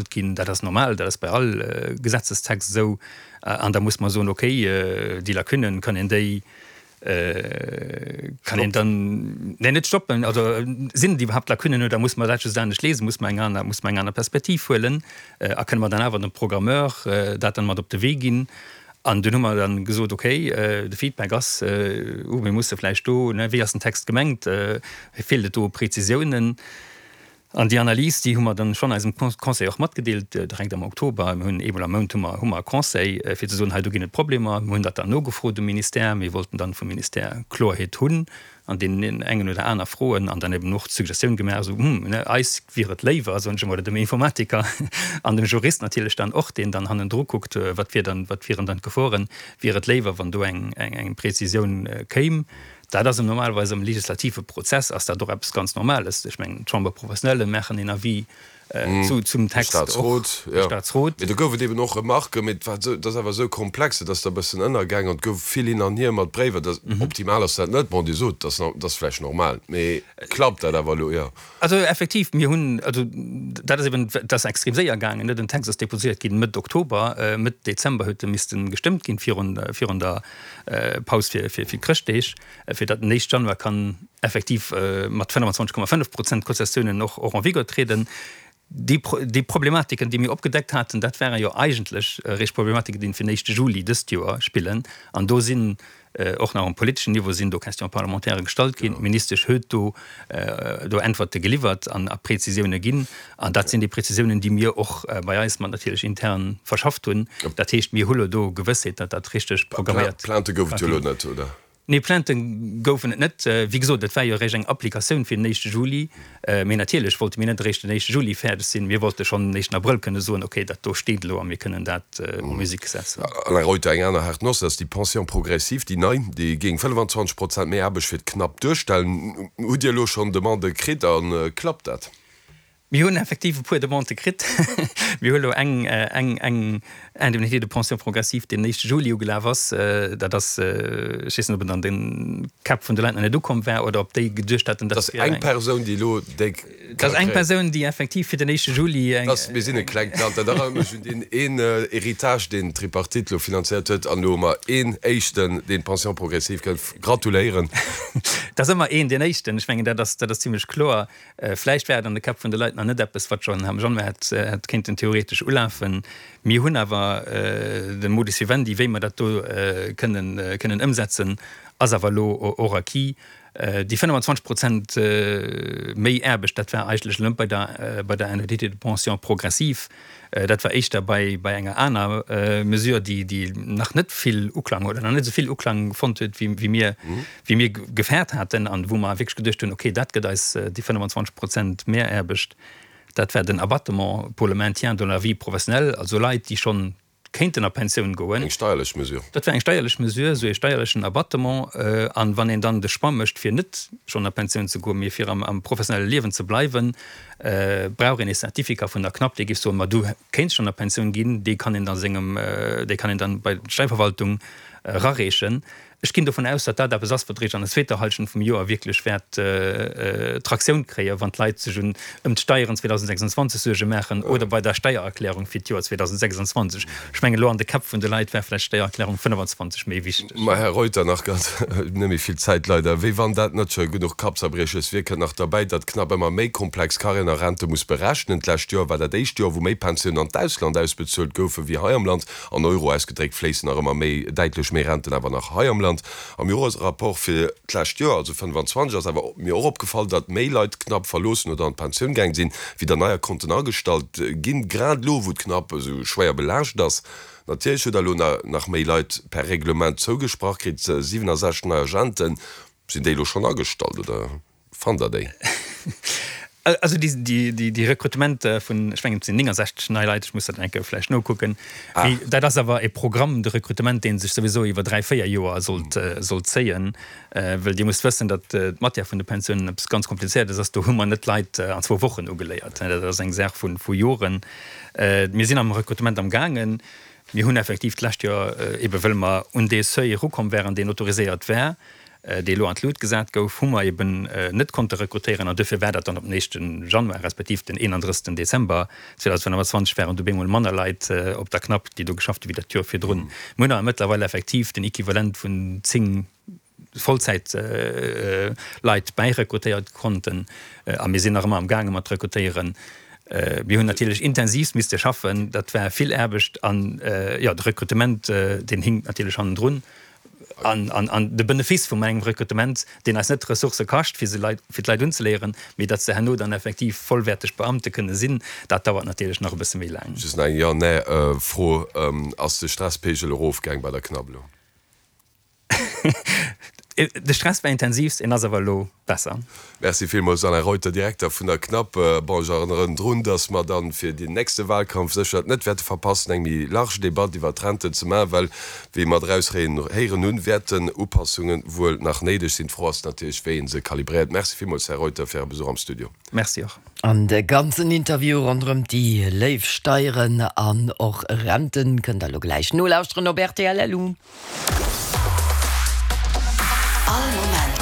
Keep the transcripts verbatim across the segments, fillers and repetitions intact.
Ginn. Dat ass normal, dat ass bei all Gesetzestext esou. An da muss mer soen, okay, déi Lacunnen, kann een déi, kann een dann, nee, net stoppen, also sinn et iwwerhaapt Lacunnen oder muss mer dat just anescht lesen, muss mer eng aner, muss mer eng aner Perspektiv huelen a kënne mer dann awer dem Programmeur dat dann mat op de Wee ginn. An dunn hu mer dann gesot, okay, de Feedback ass, uh, mir musse vläicht do, ne, wéi ass den Text gemengt, feelt et do u Prezisiounen? An déi Analys, déi hu mer dann schonn eisem Conseil och matgedeelt, direkt am Oktober. Mir hunn eemol am Mount hu mer, hu mer e Conseil, fir ze soen, hei do ginn et Problemer. Mir hunn dat dann nogefrot um Ministère. Mir wollten dann vum Ministère Kloerheet hunn an deenen engen oder aner Froen an dann eben och d'Suggestioun gemaach, esou, hm, ne, eis wier et léiwer, soen ech emol, oder dem Informatiker an dem Jurist natierlech dann och, deen dann hannendru kuckt, wat wier dann, wat wieren dann d'Geforen, wier et léiwer, wann do eng, eng, eng Prezisioun kéim. Dat ass normalerweis am legislative Prozess ass dat och eppes ganz Normales. Ech mengen, d'Chambre professionnelle maachen een Avis zu, zum Text och. Staatsrot, jo. De Staatsrot. Mee do gouf et eben och Remarken, mee et war esou, et ass awer esou komplex, et ass da e bëssen ënnergaang an et gouf vill hin an hier mat Bréiwer. Dat, optimal ass dat net. Bon, Dir sot, dat ass, dat ass vläicht normal, mee klappt dat awer elo? Jo. Also effektiv, mir hunn, also dat ass eben, dat ass extrem séier gaangen, ne? Den Text ass déposiert ginn Mëtt Oktober, Mëtt Dezember huet e misste gestëmmt ginn virun, virun der Paus fir, fir, fir d'Chrëschtdeeg, fir datt den éischte Januar kann effektiv mat fënnefenzwanzeg Komma fënnef Prozent Konzessiounen och, och en vigueur trieden. Déi, déi Problematiken, déi mir opgedeckt haten, dat waren jo eigentlech eréischt Problematiken, déi fir den éischte Juli dëst Joer spillen. An do sinn och nach um politeschen Niveau sinn do Questions parlementaires gestallt ginn. D'Ministesch huet do, do Äntwerte geliwwert an a Prezisioune ginn. An dat sinn déi Prezisiounen, déi mir och bei eis mat natierlech intern verschafft hunn. Dat heescht, mir hu lo do Gewëssheet, datt dat richteg programméiert. Plainte gouf et jo elo net, oder? Nee, Plainte goufen et net. Wéi gesot, et war jo eréischt eng Applikatioun fir den éischte Juli. Mee natierlech wollte mir net eréischt den éischte Juli fäerdeg sinn. Mir wollte schonn den éischten Abrëll kënne soen, okay, dat do steet elo a mir kënnen dat en musique setzen. Alain Reuter, Eng aner haart Noss ass déi Pension progressive, déi nei, déi géing fënnefenzwanzeg Prozent méi Aarbecht fir d'Knapp duerstellen. Hutt Dir elo schonn Demandë kritt a klappt dat? Mir hunn effektiv e puer Demandë kritt. Mir hu elo eng, eng, eng Indemnité de pension progressive, déi den éischte Juli ugelaf ass. Dat ass, ech weess net, ob et an de Käpp vun de Leit nach net ukomm war oder ob déi geduecht haten, dat wier eng. Dat ass eng Persoun, déi elo déi ka kréien. Dat ass eng Persoun, déi effektiv fir den éischte Juli eng. Dat ass, mir sinn e klengt Land. Dat erënnert mech un deen een Héritage, deen d'Tripartite elo finanzéiert huet. An elo hu mer een éischten, deen d'Pension progressive kritt. Gratuléieren. Dat ass ëmmer een, deen éischten. Ech mengen, dat ass, dat ass zimlech kloer. Vläicht war et an de Käpp vun de Leit nach net eppes, wat schonn am Januar hätt, hätt kéinten theoretesch ulafen. Mir hunn awer de Modus vivendi, wéi mer dat do kënnen, kënnen ëmsetzen, ass awer elo och acquis. Déi fënnefenzwanzeg Prozent méi Aarbecht, dat war eigentlech elo net bei der, bei der Indemnité de pension progressive, dat war éischter bei, bei enger aner Mesure, déi, déi nach net vill Uklang oder nach net esou vill Uklang fonnt huet, wéi, wéi mir, wéi mir gefäert haten an wou mer wierklech geduecht hunn, okay, dat gëtt eis déi fënnefenzwanzeg Prozent Mehraarbecht. Dat war den Abattement pour le maintien dans la vie professionnelle, also Leit, déi schonn kéinten a Pensioun goen. Eng steierlech Mesure. Dat war eng steierlech Mesure, esou ee steierlechen Abattement. An wann een dann de Choix mécht, fir net schonn a Pensioun ze goen, mee fir am, am professionelle Liewen ze bleiwen, brauch een ee Certificat vun der CNAP, dee géif soen, ma du kéints schonn a Pensioun ginn. Dee kann een da sengem, dee kann een dann bei d'Steierverwaltung erareechen. Ech ginn dovun aus, datt dat eppes ass, wat eréischt an der zweeter Hallschent vum Joer wierklech wäert Traktioun kréien, wann d'Leit sech un ëm d'Steieren zweedausendsechsundzwanzeg Suerge maachen oder bei der Steiererklärung fir d'Joer zweedausendsechsundzwanzeg. Ech mengen, elo an de Käpp vun de Leit war vläicht d'Steiererklärung fënnefenzwanzeg méi wichteg. Ma Här Reuter, nach ganz, net méi vill Zäit leider, wéi wann dat net scho genuch Kappzerbrieches wier, kënnt nach derbäi, datt knapp ëmmer méi komplex Carrièren a Rente muss berechnen. D'lescht Joer war dat éischt Joer, wou méi Pensiounen an d'Ausland ausbezuelt goufe wéi hei am Land. An Euro ausgedréckt fléissen nach ëmmer méi, däitlech méi Renten awer nach hei am Land. Am Joresrapport fir d'lescht Joer, also fënnefenzwanzeg, ass awer mir och opgefall, datt méi Leit d'Knapp verloossen oder an d'Pensioun gaang sinn, wéi der neier konnten agestallt ginn, grad elo, wou d'Knapp esou schwéier belaascht ass. Natierlech hutt Der elo nach méi Leit per Reglement zougesprach kritt, siwenasechzeg nei Agenten. Sinn déi elo schonn agestallt oder fannt Der déi? Also déi Rekrutementer vun, ech mengen et sinn néngensechzeg nei Leit, ech muss dat eng Kéier vläicht nokucken, mee dat ass awer e Programme de recrutement, dee sech souwisou iwwer dräi, véier Joer sollt sollt zéien. Well Dir musst wëssen, datt d'Matière vun de Pensiounen eppes ganz Komplizéiertes ass. Do hu mer net Leit an zwou Wochen ugeléiert. Dat ass eng Saach vu Joren. Mir sinn am Rekrutement amgaangen. Mir hunn effektiv d'lescht Joer, ebe wëll mer un dee Seuil erukomm waren, deen autoriséiert war, dee elo an d'Lut gesat gouf, hu mer eben net konnte rekrutéieren an duerfir war dat dann op den éischte Januar respektiv den eenandrëssigsten Dezember zweedausendfënnefazwanzeg waren du bemol manner Leit op der Knapp, déi do geschafft hu wéi dat d'Joer virdrun. Mir hunn awer mëttlerweil effektiv den Equivalent vun zéng Vollzäitleit bäirekrutéiert konnten a mir sinn nach ëmmer amgaange mat rekrutéieren. Mir hunn natierlech intensivst misste schaffen, dat war vill Aarbecht an, jo, de Rekrutement, deen hinkt natierlech hannendrun. An, an, an de Benefiss vum engem Rekrutement, deen eis net Ressourcë kascht, fir se Leit, fir d'Leit unzeléieren, mee datt se herno dann effektiv vollwäerteg Beamte kënne sinn, dat dauert natierlech nach e bësse méi laang. Just nach eng Ja-Nee-Fro, Ass de Stresspegel erofgaang bei der Knapp elo? De Stress war intensivst, en ass awer elo besser. Merci villmools Alain Reuter, Direkter vun der Knapp. Bon, ech erënneren drun, datt mer dann fir deen nächste Wahlkampf sécher et net wäerte verpassen, eng méi large Debatt iwwert d'Renten ze maachen, well, wéi mer draus héieren hunn, wäerten Upassunge wuel nach néideg sinn. D'Fro ass natierlech, wéi ee se kalibréiert. Merci villmools, Här Reuter, fir Äre Besuch am Studio. Merci och. An de ganzen Interview ronderëm déi léif Steieren an och Renten kënnt der elo gläich nolauschteren op rtl LU. All Moment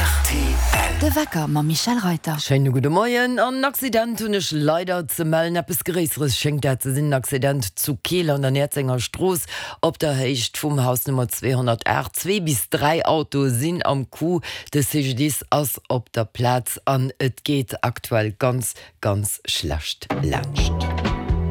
rtl. De Wecker mam Michèle Reuter. Schéine gudde Moien. En Accident hunn ech leider ze mellen. Eppes Gréisseres schéngt dat ze sinn. En Accident zu Keel an der Näerzenger Strooss op der Héicht vum Haus Nummer zweehonnertaacht. Zwee bis dräi Autoe sinn am Coup. De C G D I S ass op der Plaz an et geet aktuell ganz, ganz schlecht laanscht.